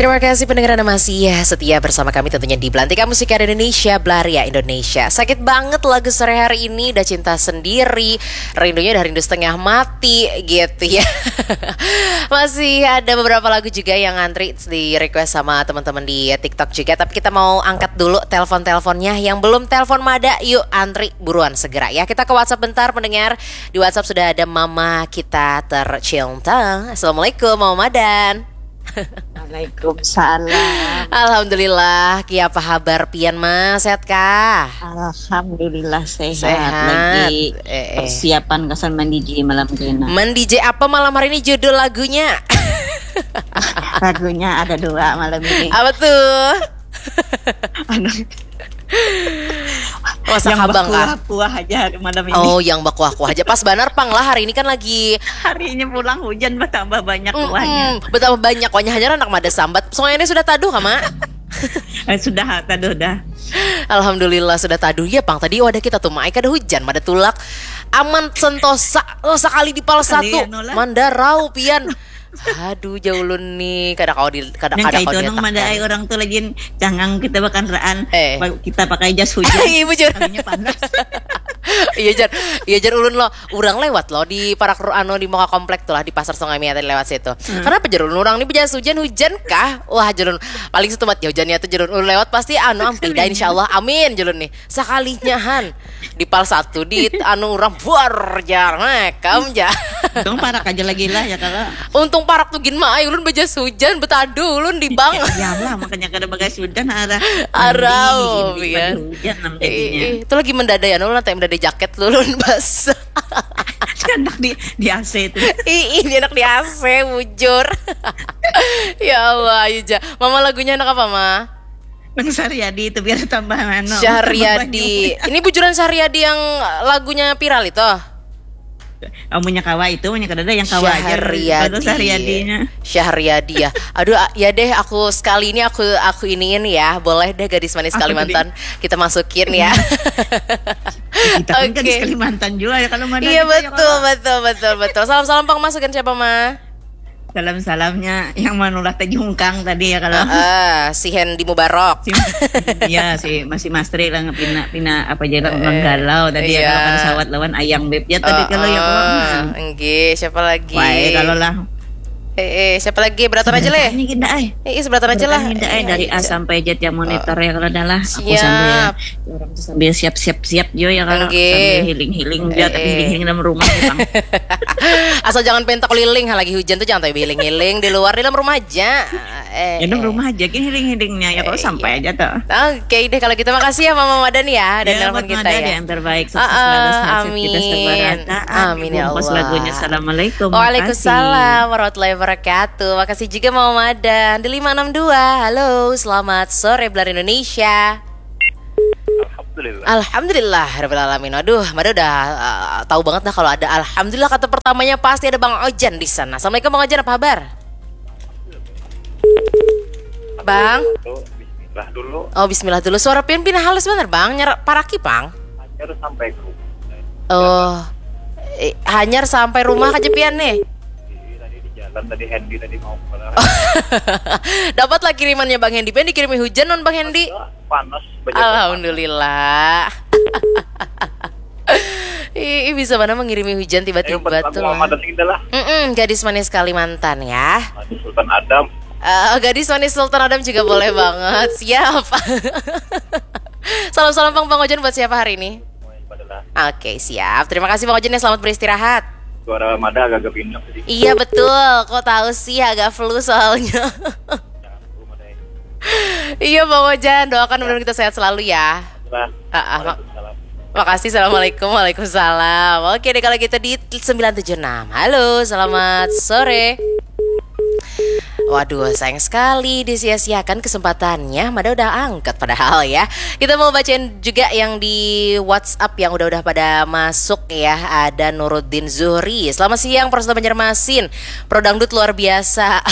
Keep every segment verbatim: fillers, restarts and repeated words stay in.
Terima kasih pendengar Anda masih setia bersama kami tentunya di Belantika Musik Indonesia, Belaria Indonesia. Sakit banget lagu sore hari ini, udah cinta sendiri, rindunya udah rindu setengah mati gitu ya. Masih ada beberapa lagu juga yang ngantri di request sama teman-teman di TikTok juga, tapi kita mau angkat dulu telepon-teleponnya. Yang belum telepon mada, yuk antri buruan segera ya. Kita ke WhatsApp bentar pendengar. Di WhatsApp sudah ada mama kita tercinta. Assalamualaikum Mama Madan. Waalaikumsalam. Alhamdulillah, kiapa habar pian Ma? Sehat kah? Alhamdulillah sehat. Sehat. Lagi Eh, eh. Persiapan kesan mandi J malam kena. Mandi J apa malam hari ini judul lagunya? Lagunya ada dua malam ini. Apa tuh? Anu, Masak yang habang kah? Berkuah-kuah aja malam ini. Oh, yang bakuah-kuah aja. Pas banar pang lah hari ini kan lagi Harinya pulang hujan bertambah banyak kuahnya. Mm-mm, betapa banyak kuahnya, hanya anak mada sambat. Sungai ini sudah taduh kah Ma? Eh, sudah taduh dah. Alhamdulillah sudah taduh ya pang. Tadi wadah kita tuh Mai kada hujan, mada tulak aman sentosa. Oh, sekali di pal Sekali satu anu lah. Mandarau pian. Aduh, jauh ulun nih, kada kau di kada Yang kada kayak kau itu nang diletakkan. Mandai orang tuh lagi jangang kita bakanraan. Eh. Kita pakai jas hujan. Iya, bujur. Kalinya panas. Iya jar, iya jar ulun lo, urang lewat lo di parak ru- anu di muka komplek tuh lah di pasar Sungai Mia tadi lewat situ. Kenapa jar ulun urang ni bejas hujan hujan kah? Wah jar ulun paling setumat ya hujannya tuh jar ulun lewat pasti anu ampida insyaallah amin jar ulun nih sekalinya han di pal satu di anu urang buar jar mekam jar. Untung parak aja lagi lah ya kalau. Untung parak tuh gin ma ai ulun bejas hujan betadu ulun di bang. Ya lah makanya kada bagas hujan arah. Arau, Mending iya. Hujan nam jadinya. Ih, itu lagi mendadai anu nanti mendadai jaket lu ulun bas. Anak di di A C itu. Ih, ini anak di A C bujur. Ya Allah, ayo ja. Mama lagunya anak apa, Ma? Nang Saryadi itu biar tambah anu. Syahriyadi. Ini bujuran Syahriyadi yang lagunya viral itu. Amunnya kawa itu, amunnya kadada yang kawa aja. Syahriyadi. Kalau Saryadi-nya. Syahriyadi ya. Aduh, a- ya deh, aku sekali ini aku aku iniin ya. Boleh deh gadis manis Aku Kalimantan kita masukin ya. Kita pun kan Oke. Kalimantan juga ya kalau mana Iya kita ya betul kalau- betul betul betul. Salam salam pang masukin siapa ma? Salam-salamnya yang manulah tajungkang tadi ya kalau. Eh, si Hendy Mubarok. Si, ya si masih Mastri lah pina pina apa aja lah Eh, menggalau tadi ya iya. Kalau kada sawat lawan ayang beb ya tadi kalau ya Eh, kalau eh, nah. Enggih, siapa lagi? Wah, eh, kalau lah Eh, eh, siapa lagi? Beratan aja leh. Ini kita ay. Eh, eh, seberatan aja lah. Ini kita ay dari A Iya. sampai Z yang monitor ya kalau dah lah. Aku Siap. sambil orang tuh sambil siap-siap siap jo ya kalau Enggih. Sambil healing-healing dia Eh, tapi eh. Healing dalam rumah ya, Bang. Asal jangan pentak keliling, ha, lagi hujan tuh jangan healing-healing di luar, di dalam rumah aja. Eh, Ya dalam eh. rumah aja gini healing-healingnya ya kalau Eh, sampai iya. aja tuh. Oke deh kalau gitu makasih ya Mama Madan ya dan Ya, nelpon buat kita Mada ya. Yang terbaik sukses Ah, selalu ah, sehat-sehat kita amin. sabarata. Amin ya Dibungkus Allah. Lagunya Assalamualaikum. Waalaikumsalam warahmatullahi wabarakatuh. Makasih juga Mama Madan di lima enam dua. Halo, selamat sore Belar Indonesia. Alhamdulillah. Alhamdulillah rabbil alamin. Aduh, Mada udah uh, tahu banget dah kalau ada alhamdulillah kata pertamanya pasti ada Bang Ojan di sana. Assalamualaikum Bang Ojan, apa kabar? Bang. Tuh, bismillah dulu. Oh, bismillah dulu. Suara pian pina halus bener, Bang. Nyar paraki, Bang. Hanyar sampai ke rumah. Oh. Eh, hanyar sampai rumah aja pian nih. Jadi tadi di jalan tadi Hendy tadi mau keluar. Dapatlah kirimannya Bang Hendy. Pian dikirimi hujan non Bang Hendy. Panas. Banyak Alhamdulillah. Ih, ih, bisa mana mengirimi hujan Ayo, buat tiba-tiba lagu tuh Mama lah. Madan ini dah lah. Mm-mm, gadis manis Kalimantan ya. Maju Sultan Adam. Eh, gadis manis Sultan Adam juga boleh banget. Siap. Salam-salam Bang Bang Ojan buat siapa hari ini? Semuanya pada lah. Oke, siap. Terima kasih Bang Ojan ya, selamat beristirahat. Suara Mada agak-agak pindah tadi. Iya betul, kok tahu sih agak flu soalnya. Jangan dulu Mada ini. Iya Bang Ojan, doakan mudah-mudahan kita sehat selalu ya. Lah. Ah, ah, mak- Waalaikumsalam. Makasih, assalamualaikum, waalaikumsalam. Oke deh kalau gitu di sembilan tujuh enam. Halo, selamat sore. Waduh, sayang sekali disia-siakan kesempatannya. Mada udah angkat padahal ya. Kita mau bacain juga yang di WhatsApp yang udah-udah pada masuk ya. Ada Nuruddin Zuhri. Selamat siang, Persada Banjarmasin. Pro Dangdut luar biasa.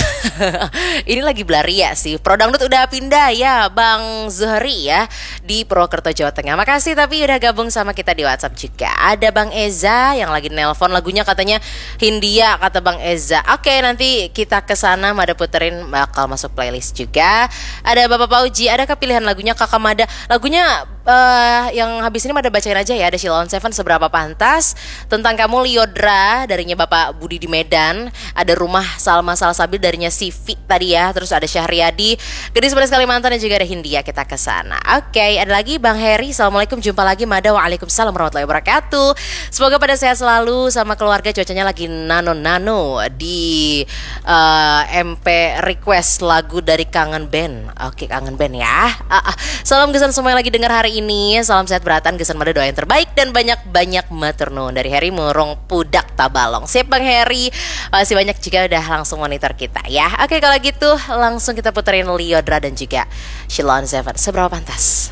Ini lagi belaria sih. Pro Dangdut udah pindah ya, Bang Zuhri ya. Di Purwokerto, Jawa Tengah. Makasih tapi udah gabung sama kita di WhatsApp juga. Ada Bang Eza yang lagi nelpon lagunya katanya Hindia kata Bang Eza. Oke, nanti kita ke sana Mada Putri. Terin bakal masuk playlist juga. Ada Bapak Pauji, adakah pilihan lagunya Kakak Mada? Lagunya eh, yang habis ini Mada bacain aja ya. Ada Sheila on Seven, Seberapa Pantas, Tentang Kamu, Lyodra darinya Bapak Budi di Medan, ada Rumah Salma Salsabil darinya Sivi tadi ya, terus ada Syahriadi, Gadis Manis Kalimantan, dan juga ada Hindia, Kita ke Sana. Oke, ada lagi Bang Heri, Assalamualaikum, jumpa lagi Mada. Waalaikumsalam warahmatullahi wabarakatuh. Semoga pada sehat selalu sama keluarga, cuacanya lagi nano-nano di eh, M P request lagu dari Kangen Band. Oke, Kangen Band ya. Ah, ah. Salam gasan semua yang lagi dengar hari ini. Salam sehat berataan, gasan Mada doa yang terbaik dan banyak-banyak matur nuwun dari Heri Murung Pudak Tabalong. Sip Bang Heri, makasih banyak juga udah langsung monitor kita ya. Oke, kalau gitu langsung kita puterin Lyodra dan juga Sheila on Seven. Seberapa Pantas?